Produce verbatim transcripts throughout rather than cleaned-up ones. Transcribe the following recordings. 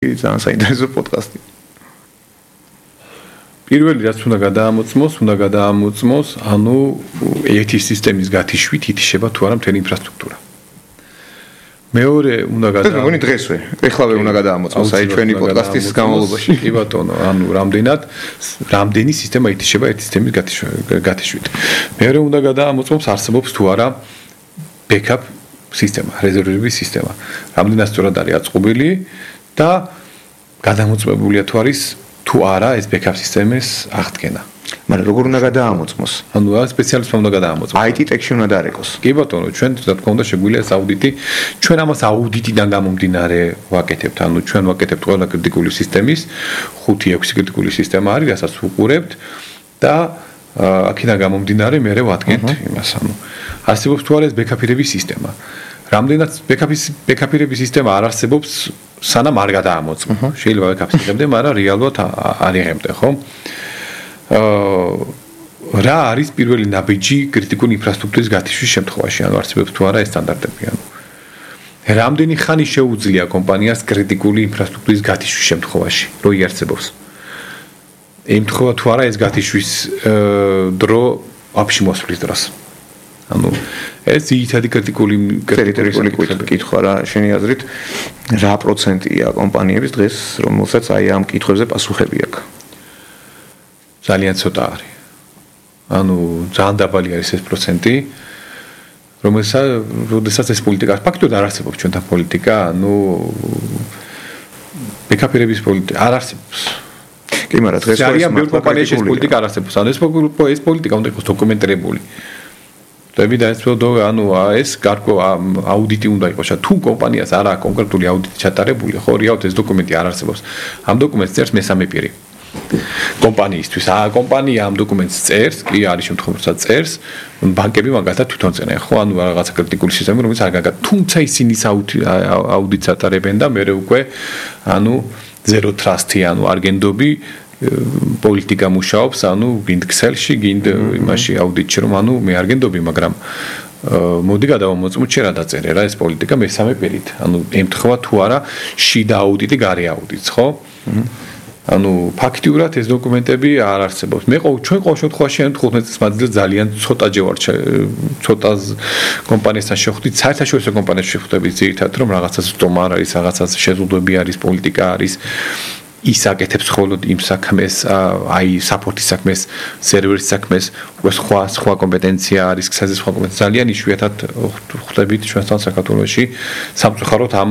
ძალიან საინტერესო პოდკასტი. პირველი რაც უნდა გადაამოწმოს, უნდა გადაამოწმოს, ანუ ერთი სისტემის გათიშვით ითიშება თუ არა მთელი ინფრასტრუქტურა. მეორე უნდა გადაამოწმოს. ეს მგონი დღესვე, ეხლავე უნდა გადაამოწმოს აი ჩვენი პოდკასტის განმავლობაში. კი ბატონო, ანუ რამდენად რამდენი სისტემა ითიშება ერთი სისტემის გათიშვით. მეორე უნდა გადაამოწმოს, არსებობს თუ არა backup სისტემა, რეზერვების სისტემა. რამდენად სწორად არის აწყობილი და გადამოწმებულია თუ არის თუ არა ეს backup სისტემის აღდგენა. მაგრამ როგორ უნდა გადაამოწმოს? ანუ რა სპეციალისტმა უნდა გადაამოწმოს? აი ტი ტექში უნდა დაარეკოს. კი ბატონო, ჩვენ რა თქმა უნდა შეგვიძლია ეს აუდიტი, ჩვენ ამას აუდიტიდან გამომდინარე ვაკეთებთ, ანუ ჩვენ ვაკეთებთ ყველა კრიტიკული სისტემის, ხუთი ექვსი კრიტიკული სისტემა არის, რასაც ვუყურებთ და აქედან გამომდინარე მე ვადგენთ იმას, ანუ არსებობს თუ არა ეს backup-ირების სისტემა. რამდენად backup-ის backup-ირების სისტემა არ არსებობს, სანამ არ გადაამოწმო. შეიძლება backup-ს იღებდე, მაგრამ რეალურად არ იღებდე, ხო? აა რა არის პირველი ნაბიჯი კრიტიკული ინფრასტრუქტურის გათიშვის შემთხვევაში, ანუ არსებობს თუ არა ეს სტანდარტები, ანუ რამდენი ხანი შეუძლია კომპანიას კრიტიკული ინფრასტრუქტურის გათიშვის შემთხვევაში, რო იარსებობს? ემთხვევა თუ არა ეს გათიშვის დრო აფში მოსვლის დროს. ანუ ეს ძირითადი კრიტიკული კრიტიკული კითხვა რა შენი აზრით რა პროცენტია კომპანიების დღეს რომელსაც აი ამ კითხვებზე პასუხები აქვს? ძალიან ცოტა არის. ანუ ძალიან დაბალი არის ეს პროცენტი, რომელსაც როდესაც ეს პოლიტიკა ფაქტობრივად არ არსებობს ჩვენთან პოლიტიკა, ანუ backup-ირების პოლიტიკა არ არსებობს. კი, მაგრამ დღეს ძალიან ბევრი კომპანიაში ეს პოლიტიკა არ არსებობს. ანუ ეს პოლიტიკა უნდა იყოს დოკუმენტირებული. ტები და ეს პოდო ანუ ეს გარკვეულ აუდიტი უნდა იყოს. თუ კომპანიას არა კონკრეტული აუდიტი ჩატარებული, ხო, რეალურად ეს დოკუმენტი არ არსებობს. ამ დოკუმენტს წერს მესამე პირი. კომპანიისთვის. აა კომპანია ამ დოკუმენტს წერს, კი არის შემთხვევა, როცა წერს, ბანკები მაგალითად თვითონ წერენ, ხო, ანუ რაღაცა კრიტიკული სისტემა, რომელიც არ გაგა. თუმცა ისინი აუდიტს ატარებენ და მე უკვე ანუ zero trust-ი, ანუ არგენდობი პოლიტიკა მუშაობს, ანუ გინდ Excel-ში, გინდ იმაში აუდიტში, რომ ანუ მე არ გენდობი, მაგრამ მოდი გადავამოწმოთ შე რა დაწერე რა ეს პოლიტიკა მესამე პირით. ანუ ემთხვევა თუ არა შიდა აუდიტი, გარე აუდიტს, ხო? ანუ ფაქტიურად ეს დოკუმენტები არ არსებობს. მე ყოველ ჩვენ ყოველ შემთხვევაში თხუთმეტ წლის მანძილზე ძალიან ცოტაჯერ ვარ ცოტა კომპანიასთან შევხვდით, საერთაშორისო კომპანიაში შევხვდებით ძირითადად, რომ რაღაცას სტომა არის, რაღაცას შეზღუდვები არის, პოლიტიკა არის. ის აკეთებს მხოლოდ იმ საქმეს, აი საპორტის საქმეს, სერვერის საქმეს, უკვე სხვა სხვა კომპეტენცია არის, ქსაზე სხვა კომპეტენცია. ძალიან იშვიათად ხვდებით ჩვენთან საქართველოში სამწუხაროდ ამ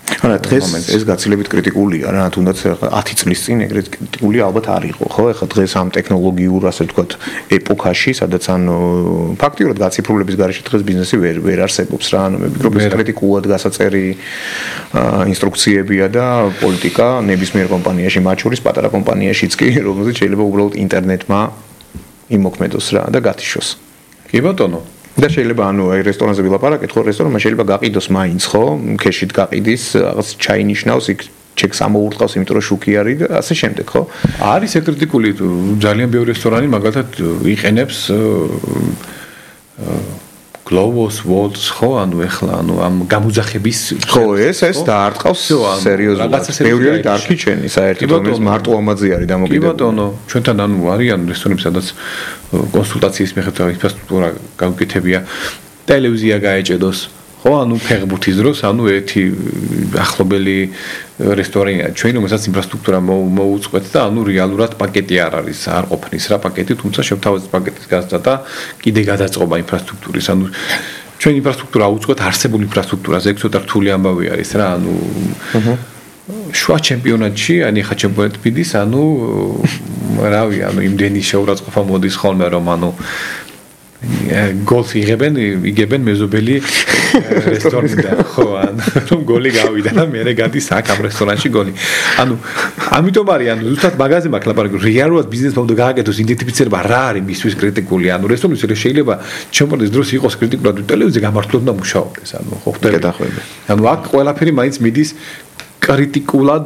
არა დღეს ეს გაცილებით კრიტიკულია რა, თუნდაც ათი წლის წინ ეგრეთ კრიტიკული ალბათ არ იყო, ხო? ეხლა დღეს ამ ტექნოლოგიურ, ასე ვთქვათ, ეპოქაში, სადაც ანუ ფაქტიურად გაციფრულების გარეშე დღეს ბიზნესი ვერ ვერ არსებობს რა, ანუ მე ვფიქრობ ეს კრიტიკულად გასაწერი ინსტრუქციებია და პოლიტიკა ნებისმიერ კომპანიაში, მათ შორის პატარა კომპანიაშიც კი, რომელზეც შეიძლება უბრალოდ ინტერნეტმა იმოქმედოს რა და გათიშოს. კი ბატონო. და შეიძლება ანუ აი რესტორანზე ვილაპარაკეთ, ხო, რესტორანმა შეიძლება გაყიდოს მაინც, ხო? ქეშით გაყიდის, რაღაც ჩაინიშნავს, იქ ჩეკს ამოურტყავს, იმიტომ რომ შუქი არის და ასე შემდეგ, ხო? არის ეკრიტიკული ძალიან ბევრი რესტორანი მაგალითად იყენებს Globus Walls, ხო, ანუ ეხლა ანუ ამ გამუძახების ხო, ეს ეს დაარტყავს სერიოზულად. ბევრი არის დარქიჩენი, საერთოდ რომელიც მარტო ამაზე არის დამოკიდებული. კი ბატონო, ჩვენთან ანუ არიან რესტორნები, სადაც კონსულტაციის მიხედვით ინფრასტრუქტურა გაუკეთებია, ტელევიზია გაეჭედოს, ხო, ანუ ფეხბურთის დროს, ანუ ერთი ახლობელი რესტორანია ჩვენ, რომელსაც ინფრასტრუქტურა მოუწყვეთ და ანუ რეალურად პაკეტი არ არის, არ ყოფნის რა პაკეტი, თუმცა შევთავაზეთ პაკეტის გაზრდა და კიდე გადაწყობა ინფრასტრუქტურის, ანუ ჩვენ ინფრასტრუქტურა უწყვეთ არსებულ ინფრასტრუქტურაზე, ეგ ცოტა რთული ამბავი არის რა, ანუ შუა ჩემპიონატში, ანუ ხა ჩემპიონატ ფიდის, ანუ რავი, ანუ იმდენი შეურაცხყოფა მოდის ხოლმე, რომ ანუ გოლს იღებენ, იგებენ მეზობელი რესტორნიდან, ხო, ანუ რომ გოლი გავიდა და მე გადის აქ ამ რესტორანში გოლი. ანუ ამიტომ არის, ანუ ზუსტად მაგაზე მაქვს ლაპარაკი, რეალურად ბიზნესმა უნდა გააკეთოს იდენტიფიცირება რა არის მისთვის კრიტიკული, ანუ რესტორნის შეიძლება ჩემპიონატის დროს იყოს კრიტიკულად, ტელევიზია გამართულად და მუშაობდეს, ანუ ხო ხდება. ანუ აქ ყველაფერი მაინც მიდის კრიტიკულად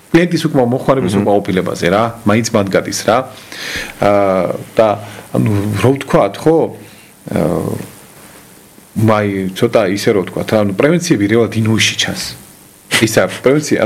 კლიენტის უკმო მოხმარების უკმო ოფილებაზე რა, მაინც მათ გადის რა. აა და ანუ რო ვთქვათ, ხო? აა მაი ცოტა ისე რო ვთქვათ, ანუ პრევენციები რეალურად ინუიში ჩანს. ისა პრევენცია